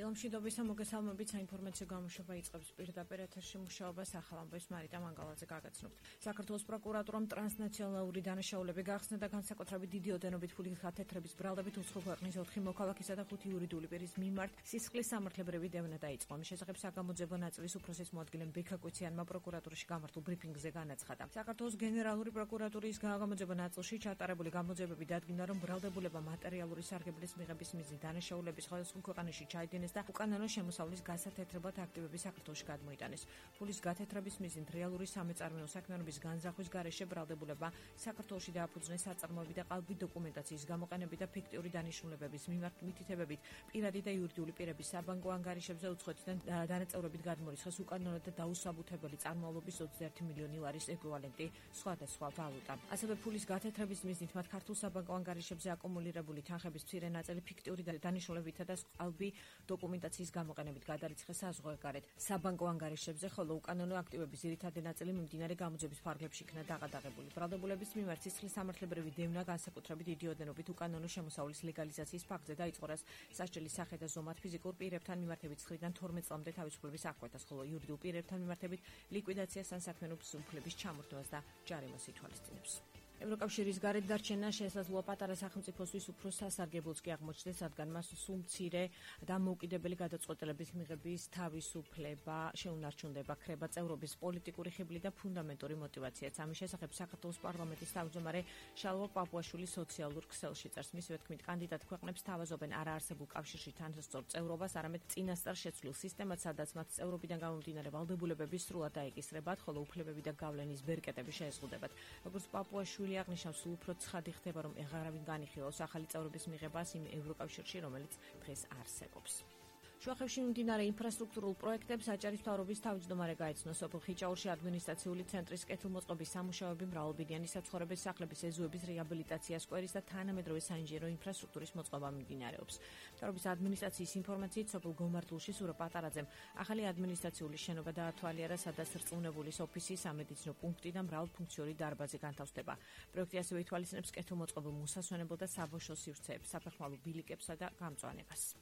დილამშვიდობის მოგესალმებით, საინფორმაციო გამოშვება იწყებს პირდაპირ ეთერში მუშაობას ახალ ამბავს მარიტა მანგალაძე გაგაცნობთ. საქართველოს პროკურატურამ ტრანსნაციონალური დანაშაულები გახსნა და განსაკუთრებით დიდი ოდენობით ფულის გათეთრების ბრალდებით უცხო ქვეყნის 4 მოქალაქისა და 5 იურიდიული პირის მიმართ სისხლის სამართლებრივი დევნა დაიწყო. ამის შესახებ საგამოძიებო ნაწილის უფროსის მოადგილემ ბექა კვიციანმა პროკურატურაში გამართულ ბრიფინგზე განაცხადა. საქართველოს გენერალური პროკურატურის საგამოძიებო ნაწილში ჩატარებული გამოძიებები დადგინდა, რომ ბრალდებულება მატერიალური სარგებლის მიღების მიზნით დანაშაულების სხვადასხვა ქვეყანაში ჩაიდინეს და უკანონო შემოსავლის გასათეთრებად აქტივები საქართველოში გადმოიტანეს. ფულის გათეთრების მიზნით რეალური სამეწარმეო საქმიანობის განზრახვის გარეშე ბრალდებულება საქართველოში დააფუძნეს საწარმოები და ყალბი დოკუმენტაციის გამოყენებით და ფიქტიური დანიშნულებების მიმართ მითითებებით პირადი და იურიდიული პირების საბანკო ანგარიშებზე უცხოეთიდან დანაწევრებით გადმორიცხეს უკანონო და დაუსაბუთებელი წარმოვალობის 21 მილიონი ლარის ეკვივალენტი სხვადასხვა ვალუტა. ასევე ფულის გათეთრების მიზნით მათ ქართულ საბანკო ანგარიშებზე აკუმულირებული თანხების მცირე ნაწილი ფიქტიური დანიშნულებითა და ყალბი დოკუმენტაციის გამოყენებით გადარიცხეს საზღვარგარეთ საბანკო ანგარიშებზე, ხოლო უკანონო აქტივების ძირითადი ნაწილი მიმდინარე გამოძიების ფარგლებში იქნა დაღადაღებული. ბრალდებულების მიმართ სისხლის სამართლებრივი დევნა განსაკუთრებით დიდი ოდენობით უკანონო შემოსავლის ლეგალიზაციის ფაქტზე დაიწყო, რაც სასჯელის სახე და ზომად ფიზიკურ პირებთან მიმართებით 9-დან 12 წლამდე თავისუფლების აღკვეთას, ხოლო იურიდიულ პირებთან მიმართებით ლიკვიდაციას ან საქმიანობის უფლების ჩამორთმევას და ჯარიმას ითვალისწინებს. ევროკავშირის გარეთ დარჩენა შესაძლოა პატარა სახელმწიფოსთვის უფრო სასარგებლოც კი აღმოჩნდეს, რადგან მას სულ მცირე და მოუკიდებელი გადაწყვეტილების მიღების თავისუფლება შეუნარჩუნდება, ქრება წევრობის პოლიტიკური ხიბლი და ფუნდამენტური მოტივაციაც. ამის შესახებ საქართველოს პარლამენტის თავმჯდომარე შალვა პაპუაშვილი სოციალურ ქსელში წერს. მისივე თქმით, კანდიდატ ქვეყნებს თავაზობენ არაარსებულ კავშირში თანასწორ წევრობას, არამედ წინასწარ შეცვლილ სისტემად, სადაც მათ წევრობიდან გამომდინარე ვალდებულებები სრულად დაეკისრებათ, ხოლო უფლებები და გავლენის ბერკეტები შეეზღუდებათ. როგორც პაპუაშვილი აღნიშნავს, სულ უფრო ცხადი ხდება, რომ ეღარავინ განიხილავს ახალი წევრობის მიღებას იმ ევროკავშირში, რომელიც დღეს არსებობს. შუახევში მიმდინარე ინფრასტრუქტურულ პროექტებს აჭარის მთავრობის თავმჯდომარე გაეცნო. სოფელ ხიჭაურში ადმინისტრაციული ცენტრის კეთილმოწყობის სამუშაოები, მრავალბინიანი საცხოვრების სახლების ეზოების რეაბილიტაცია, სკვერის და თანამედროვე საინჟინრო ინფრასტრუქტურის მოწყობა მიმდინარეობს. მთავრობის ადმინისტრაციის ინფორმაციით, სოფელ გომართულში სურა პატარაძემ ახალი ადმინისტრაციული შენობა დაათვალიერა, სადაც რწმუნებულის ოფისი, სამედიცინო პუნქტი და მრავალფუნქციური დარბაზი განთავსდება. პროექტი ასევე ითვალისწინებს კეთილმოწყობილ მოსასვენებელ და საბავშვო სივრცეებს, საფეხმავლო ბილიკებსა და გამწვანებას.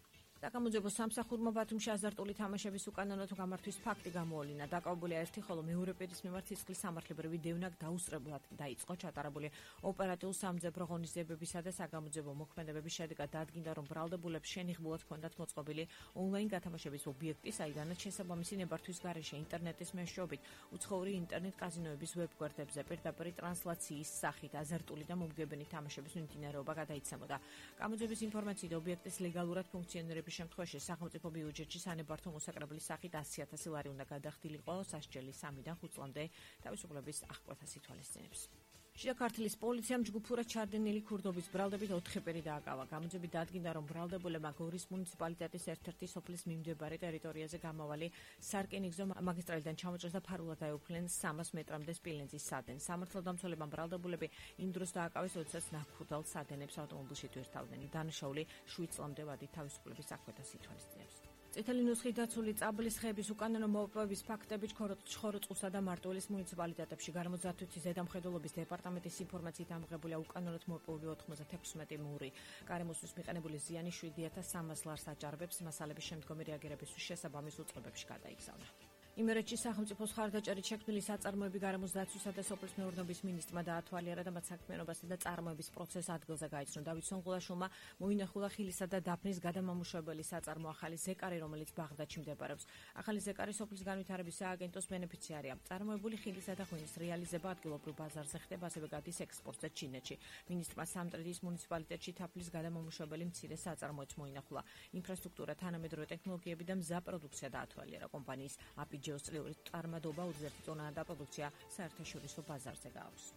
საგამოძიებო სამსახურმა ბათუმში აზარტული თამაშების უკანონო გამართვის ფაქტი გამოავლინა. დაკავებულია ერთი, ხოლო მეორე პირის მიმართ სისხლის სამართლებრივი დევნა დაუსწრებლად დაიწყო. ჩატარებული ოპერატიულ-სამძებრო ღონისძიებებისა და საგამოძიებო მოქმედებების შედეგად დადგინდა, რომ ბრალდებულებს შენიღბულად ჰქონდათ მოწყობილი ონლაინ გათამაშების ობიექტი, საიდანაც შესაბამისი ნებართვის გარეშე ინტერნეტის მეშვეობით უცხოური ინტერნეტ კაზინოების ვებ-გვერდებზე პირდაპირ ტრანსლაციის სახით აზარტული და მომგებენი თამაშების მიმდინარეობა გადაიცემოდა. გამოძიების ინფორმაციით, ობიექტის ლეგალურად ფუნქციონირების შემთხვევაში სახელმწიფო ბიუჯეტში სანებართო მოსაკრებლის სახით 100,000 ლარი უნდა გადახდილიყო, სასჯელი 3-დან 5 წლამდე თავისუფლების აღკვეთას ითვალისწინებს. შიდა ქართლის პოლიციამ ჯგუფურად ჩადენილი ქურდობის ბრალდებით 4 პირი დააკავა. გამოძიებით დადგინდა, რომ ბრალდებულებმა გორის მუნიციპალიტეტის ერთ-ერთი სოფლის მიმდებარე ტერიტორიაზე გამავალი სარკინიგზო მაგისტრალიდან ჩამოჭრეს და ფარულად დაეუფლნენ 300 მეტრამდე სპილენძის სადენს. სამართალდამცველებმა ბრალდებულები იმ დროს დააკავეს, როდესაც ნაქურდალ სადენებს ავტომობილში თვირთავდნენ. დანაშაული 7 წლამდე ვადით თავისუფლების აღკვეთას ითვალისწინებს. წითელი ნუსხით დაცული წაბლის ხეების უკანონო მოპოვების ფაქტები ჩხოროწყუსა და მარტვილის მუნიციპალიტეტებში გარემოძართვის ზედამხედველობის დეპარტამენტის ინფორმაციით ამოღებულია უკანონოდ მოპოვები 96 მური. გარემოსთვის მიყენებული ზიანი 7,300 ლარს აჭარბებს, მასალების შემდგომი რეაგირებისთვის შესაბამის უწყებებში გადაიგზავნა. იმერეთში სახელმწიფოს ხარდაჭერით შექმნილი საწარმოები გარემოს დაცვისა და სოფლის მეურნეობის მინისტრმა დაათვალიერა და მათ საქმიანობასა და წარმოების პროცესს ადგილზე გაიცნო. დავით სონღულაშვილმა მოინახულა ხილისა და დაფნის გადამამუშავებელი საწარმო ახალი ზეკარი, რომელიც ბაღდადში მდებარეობს. ახალი ზეკარი სოფლის განვითარების სააგენტოს ბენეფიციარია. წარმოებული ხილისა და ღვინის რეალიზება ადგილობრივ ბაზარზე ხდება, ასევე გადის ექსპორტზე ჩინეთში. მინისტრმა სამტრედიის მუნიციპალიტეტში თაფლის გადამამუშავებელი მცირე საწარმოიც მოინახულა. ინფრასტრუქტურა, თანამედროვე ტექნოლოგიები და მზა პროდუქცია დაათვალიერა. კომპანიის ჯეოსტრიული წარმადობა 21 ტონა და პროდუქცია საერთაშორისო ბაზარზე გააქვს.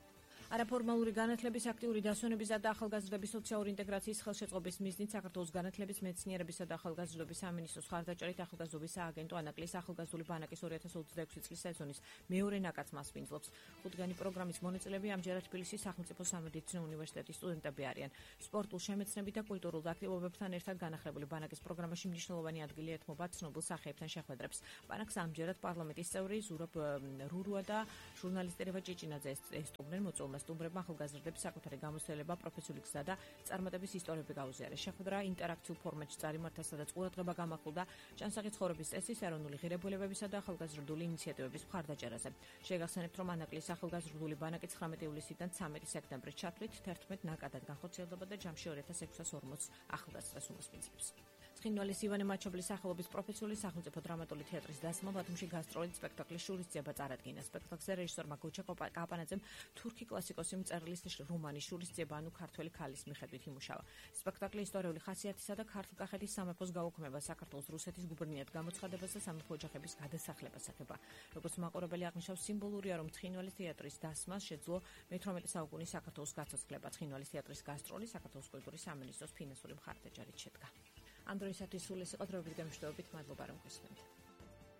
არაფორმალური განათლების აქტიური დასვენებისა და ახალგაზრდების სოციალური ინტეგრაციის ხელშეწყობის მიზნით საქართველოს განათლების, მეცნიერებისა და ახალგაზრდობის სამინისტროს ხარდაჭერით ახალგაზრდობის სააგენტო ანაკლის ახალგაზრდული ბანაკის 2026 წლის სეზონის მეორე ნაკადს მასპინძლობს. 5-დღიანი პროგრამის მონაწილეები ამჯერად თბილისის სახელმწიფო სამედიცინო უნივერსიტეტის სტუდენტები არიან. სპორტულ შემეცნებით და კულტურულ აქტივობებთან ერთად განახლებული ბანაკის პროგრამაში მნიშვნელოვანი ადგილი ეთმობა ცნობილ სახეებთან შეხვედრებს. ბანაკს ამჯერად პარლამენტის წევრი ზურაბ რურუა და ჟურნალისტი რევა ჭიჭინაძე ესტუმრნენ. მოწვეულმა მშობელმა სტუმრებმა ახალგაზრდების საკუთარი გამოცდილება, პროფესიული გზა და წარმატების ისტორიები გაუზიარეს. შეხვედრა ინტერაქციულ ფორმატში წარიმართა, სადაც ყურადღება გამახვილდა ჭანსაღი ცხოვრების წესის, ეროვნული ღირებულებებისა და ახალგაზრდული ინიციატივების მხარდაჭერაზე. შეგახსენებთ, რომ ანაკლის ახალგაზრდული ბანაკი 19 ივლისიდან 13 სექტემბრის ჩათვლით 11 ნაკადად განხორციელდება და ჯამში 2640 ახალგაზრდას უმასპინძლებს. ცხინვალის ივანე მაჩობლის სახელობის პროფესიული სახელმწიფო დრამატული თეატრის დასმა ბათუმში გასტროლით სპექტაკლის შურისძიება წარადგინა. სპექტაკლზე რეჟისორმა გუჩა კაპანაძემ თურქი კლასიკოსი მწერლის რომანი შურისძიება ანუ ქართველი ქალის მიხედვით იმუშავა. სპექტაკლი ისტორიული ხასიათისა და ქართლ-კახეთის სამეფოს გაუქმება, საქართველოს რუსეთის გუბერნიად გამოცხადებას და სამეფო ოჯახების გადასახლებას ეხება. როგორც მაყურებელი აღნიშნავს, სიმბოლურია, რომ ცხინვალის თეატრის დასმას შეძლო მე-18 საუკუნის საქართველოს გაცოცხლება. ცხინვალის თეატრის გასტროლი საქართველოს კულტურის სამინისტროს ფინანსური მხარდაჭერით შედგა. ამ დროისათვის სულ ეს იყო დროებით გემშვიდობით, მადლობა რომ გვესმენთ.